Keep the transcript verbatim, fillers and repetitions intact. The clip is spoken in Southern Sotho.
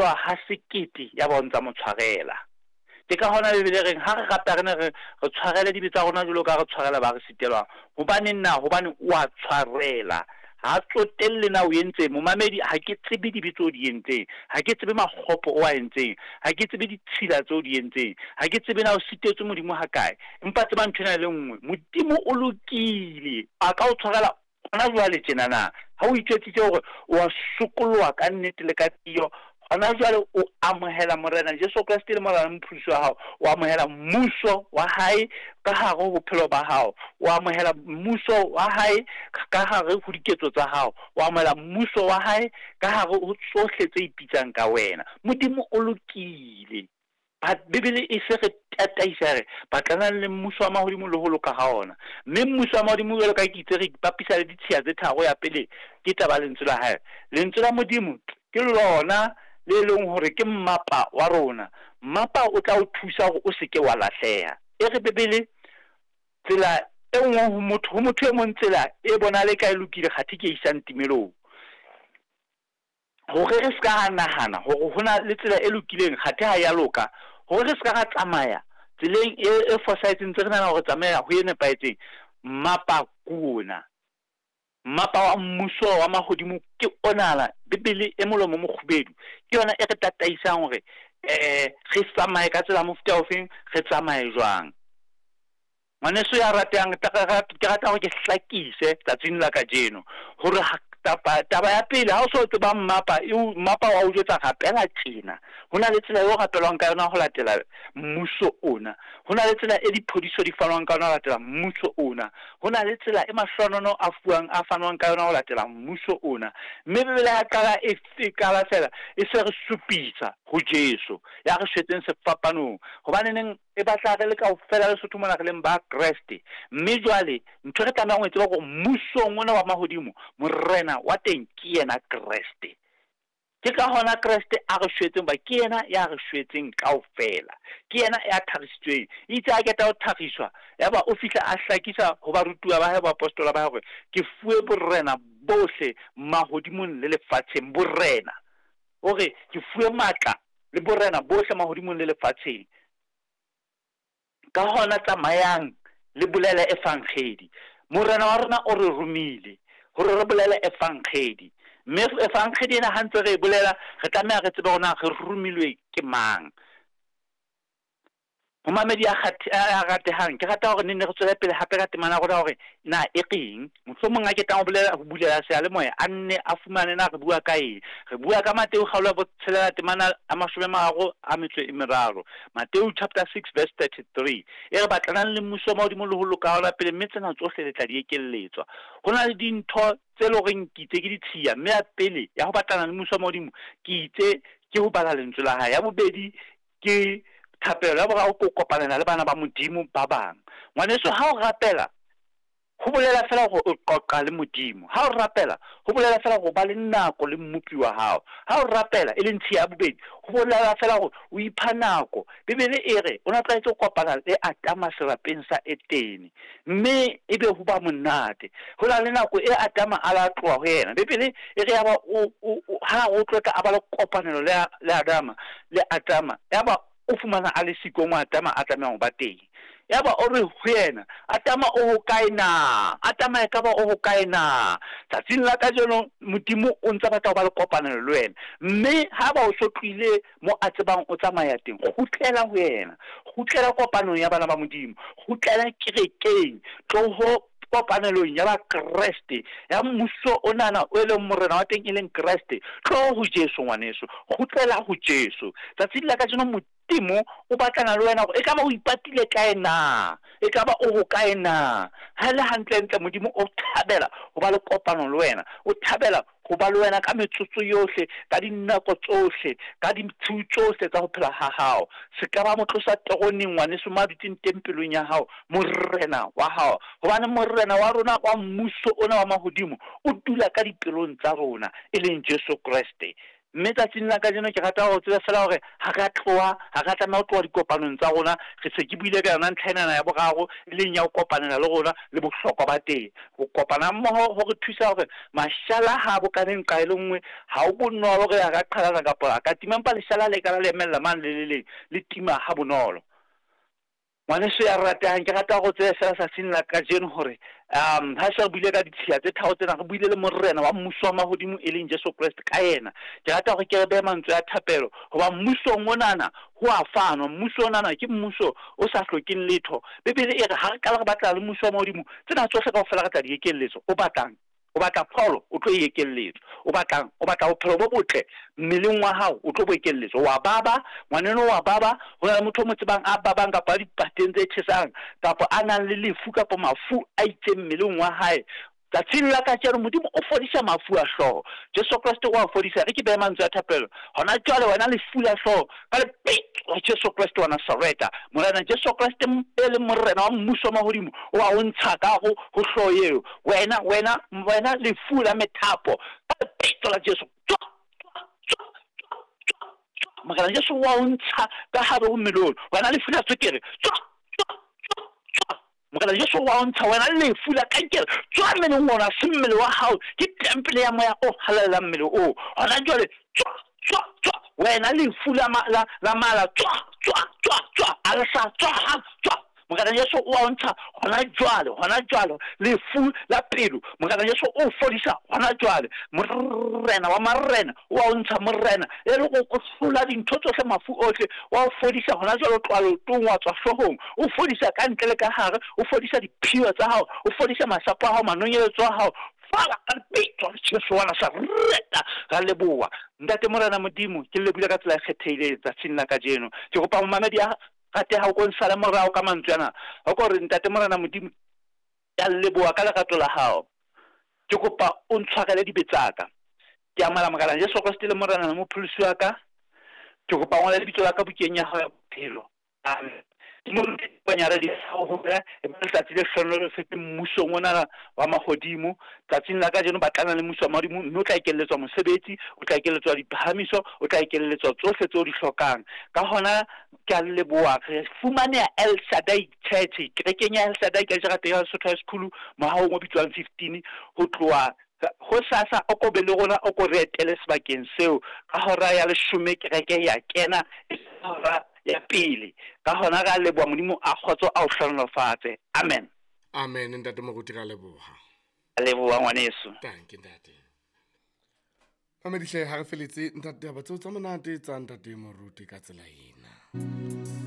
Ha sekete ya ba o ntsa mo tshwarela. Ke ka hona Bibele e reng ha re rata re ne re re tshwarele dibe tsa rona jwalo ka re tshwarela ba re sitelwang. Hobaneng na? Hobane o a tshwarela. Ha tsotelle na o entseng. Momamedi, ha ke tsebe dibe tseo di entseng. Ha ke tsebe makgopo o a entseng. Ha ke tsebe ditshila tseo di entseng. Ha ke tsebe na o sitetswe Modimo hakae. Empa tseba ntho ena e le nngwe, Modimo o lokile. A ka o tshwarela hona jwale tjenana. Ha o itjwetsitse hore o a sokoloha ka nnete le ka tiyo, hona jwale o amohela Morena Jesu Kreste le Morena Mopholosi wa hao. O amohela mmuso wa hae ka hare ho bophelo ba hao. O amohela mmuso wa hae ka hare ho diketso tsa hao. O amohela mmuso wa hae ka hare ho tsohle tse ipitsang ka wena. Modimo o lokile. Bibele e se re tataisa re batlanang le mmuso wa mahodimo le ho loka ha ona. Mme mmuso wa mahodimo jwalo ka ke itse re ipapisa le ditshiya tse tharo. Ya pele ke taba lentswe la hae. Lentswe la Modimo ke lona le leng hore ke mmapa wa rona. Mmapa o tla o thusa hore o seke wa lahleha. E re Bibele tsela e nngwe ho motho ho motho e mong tsela e bonahale ka e lokile kgathe ke e isang timelong. Hore re ska ra nahana hore ho na le tsela e lokileng kgathe ha ya loka, hore re ska ra tsamaya tseleng e e fosahetseng tse re nahana hore tsamaya ho e nepahetseng. Mmapa ke ona. Mmapa wa mmuso wa mahodimo ke onana. Bibele e molomo o mokgubedu ke yona e re tataisang hore eh re tsamaye ka tsela mofuta ofeng, re tsamaye jwang. Ngwaneso ya ratehang, ke rata hore ke hlakise tsatsing la kajeno hore taba ya pele ha o so tseba mmapa, mmapa wa o jwetsa rapela tjena. Ho na le tsela eo rapelwang ka yona ho latela mmuso ona. Ho na le tsela e diphodiso di fanwang ka yona ho latela mmuso ona. Ho na le tsela e mahlohonolo a fuwang a fanwang ka yona ho latela mmuso ona. Mme Bibele ya qala e qala fela e se re supisa ho Jesu ya re shwetseng sefapanong. Hobaneneng e batla re le kaofela Lesotho mona re leng ba Kreste. Mme jwale ntho re tlamehang ho e tseba hore mmusong ona wa mahodimo morena wa teng ke yena Kreste. Ke ka hona Kreste a re shwetseng ba ke yena ya re shwetseng kaofela. Ke yena ya tharisitsweng. Itse a keta ho thariswa, yaba o fihla a hlakisa ho barutuwa ba hae, baapostola ba hae hore ke fuwe borena bohle mahodimong le lefatsheng. Borena. Hore ke fuwe matla le borena bohle mahodimong le lefatsheng. Ka hona tsamayang le bolele evangedi. Morena wa rona o re romile hore re bolele evangedi. Mme evangedi ena ha ntse re e bolela, re tlameha re tsebe hore na re romilwe ke mang. Momamedi ya ratehang, ke rata hore ne ne re tswele pele hape ka temana ya rona hore na e reng. Mohlomong a ke tlang ho bolela ho bulela seyalemoya a nne a fumane na re bua ka eng. Re bua ka Mateu kgaolo ya botshelela temana ya mashome a mararo a metso e meraro. Mateu chapter six verse thirty-three. E re batlanang le mmuso wa mahodimo le ho loka ha ona pele, mme tsena tsohle le tla di ekelletswa. Ho na le dintho tse leng horeng ke itse ke ditshiya, mme ya pele ya ho batlana le mmuso wa mahodimo ke itse ke ho bala lentswe la hae. Ya bobedi ke thapelo, ya boraro ke ho kopanela le bana ba Modimo ba bang. Ngwaneso, ha o rapela ho bolela fela hore o qoqa le Modimo. Ha o rapela ho bolela fela hore o ba le nako le mmopi wa hao. Ha o rapela e leng tshiya ya bobedi, ho bolela fela hore o ipha nako. Bibele e re o na tlwaetse ho kopana le Adama serapeng sa Etene, mme ebe ho ba monate. Ho na le nako e Adama a la tloha ho yena. Bibele e re yaba o o ha o tlotla a ba le kopanelo le le Adama le Adama, yaba o fumana a le siko mo Adama a tlamehang ho ba teng. Yaba o re ho yena, Adama o hokae na? Adama ekaba o hokae na? Tsatsing la kajeno Modimo o ntsa batla ho ba le kopanelo le wena. Mme ha ba o so tlohile mo a tsebang o tsamaya teng, kgutlela ho yena. Kgutlela kopanong ya bana ba Modimo. Kgutlela kerekeng. Tloho kopanelong ya ba Kreste, ya mmuso onana o e leng morena wa teng e leng Kreste. Tloho ho Jesu ngwaneso, kgutlela ho Jesu. Tsatsing la kajeno Modimo o batlana le wena hore ekaba o ipatile kae na, ekaba o hokae na. Ha le hantlentle Modimo o thabela ho ba le kopano le wena, o thabela ho ba le wena ka metsotso yohle, ka dinako tsohle, ka ditshiu tsohle tsa ho phela ha hao. Se ka ba mo tlosa teroneng ngwaneso mo a dutseng teng pelong ya hao, morena wa hao. Hobane morena wa rona wa mmuso ona wa mahodimo o dula ka dipelong tsa rona, e leng Jesu Kreste. Mme tsatsing la kajeno ke rata hore tsebe fela hore ha re a tloha, ha re a tlameha ho tloha dikopanong tsa rona. Re se ke buile ka yona ntlha enana ya boraro, e leng ya ho kopanela le rona le bohlokwa ba teng. Ho kopana mmoho ho re thusa hore mashala ha a bokane nqa e le nngwe, ha ho bonolo hore a ka qhalana kapa a ka tima, empa leshala le ka la le emella mane le le leng, le tima ha bonolo. Ngwaneso ya ratehang, ke rata hore o tsebe fela tsatsing la kajeno hore um ha se re buile ka ditshiya tse tharo tsena, re buile le morena wa mmuso wa mahodimo e leng Jesu Kreste ka yena. Ke rata hore ke re behe mantswe a thapelo, hoba mmusong onana ho a fanwa. Mmuso onana ke mmuso o sa hlokeng letho. Bibele e re ha re qala re batla le mmuso wa mahodimo, tsena tsohle kaofela re tla di ekelletswa. O batlang? O batla pholo, o tlo e ekelletswa. O batlang? O batla bophelo bo botle mmeleng wa hao, o tlo bo ekelletswa. Wa baba, ngwaneno wa baba, ho na le motho o mo tsebang a babang kapa a dipateng tse tjhesang, kapa a nang le lefu kapa mafu a itseng mmeleng wa hae. Tsatsing la kajeno Modimo o fodisa mafu a hlooho. Jesu Kreste o a fodisa. Re ke behe mantswe a thapelo hona jwale, wena lefu la hlooho, ka lebitso la Jesu Kreste wa Nazareta, Morena Jesu Kreste e leng morena wa mmuso wa mahodimo, o a o ntsha ka ho ho hlooho eo. Wena, wena, wena lefu la methapo, ka lebitso la Jesu, tswa, tswa, tswa, tswa, tswa, tswa. Morena Jesu o a o ntsha ka hare ho mmele ono. Wena lefu la tswekere, tswa, tswa, tswa, tswa. Morena Jesu wa o ntsha. Wena lefu la kankere, tswa mmeleng ona, se mmele wa hao, ke tempele ya moya o halalelang mmele oo. Hona jwale, tswa, tswa, tswa. Wena lefu la la la mala, tswa, tswa, tswa, tswa. Alsa, tswa, tswa. Morena Jesu o a o ntsha hona jwale, hona jwale. Lefu la pelo, Morena Jesu o fodisa hona jwale. Morena wa marena o a o ntsha, morena e le go o hlola dintho tsohle, mafu ohle, wa o fodisa hona jwale. O tloha leotong wa tswa hloohong, o fodisa ka ntle le ka hare, o fodisa diphio tsa hao, o fodisa masapo a hao, manonyeletso a hao. Fala ka lebitso la Jesu wa Nazareta. Ra leboha Ntate Morena Modimo, ke le lebohile ka tsela e kgethehileng tsatsing la kajeno. Ke kopa momamedi a rateha o ko nsale morao ka mantswe ana, o ko re Ntate Morena Modimo, ke a leboha ka lerato la hao, ke kopa o ntshwarele dibe tsa ka. Ke amohela Morena Jesu Kreste le Morena le mopholosi wa ka. Ke kopa o ngole lebitso la ka bukeng ya hao ya bophelo. Amen. Ke moruti Panyara di ho e ba letsatsi le hlohonolofetseng mmusong ona wa mahodimo. Tsatsing la kajeno batlana le mmuso wa mahodimo, mme o tla ekelletswa mosebetsi, o tla ekelletswa diphahamiso, o tla ekelletswa tsohle tseo di hlokang. Ka hona ke a leboha. Re fumaneha El Shaddai Church, kerekeng ya El Shaddai ka jarateng ya Lesotho High School, mohahong o bitswang fifteen. Ho tloha hosasa o ko be le rona, o ko re etele sebakeng seo ka hora ya leshome. Kereke ya kena e hora ya pele. Ka hona re a leboha. Modimo a kgotso a o hlohonolofatse. Amen. Amen ntate moruti, ra leboha. A leboha ngwaneso. Dankie ntate. Mamedihle, ha re feletse ntate, taba tseo tsa monate tsa ntate moruti ka tsela ena.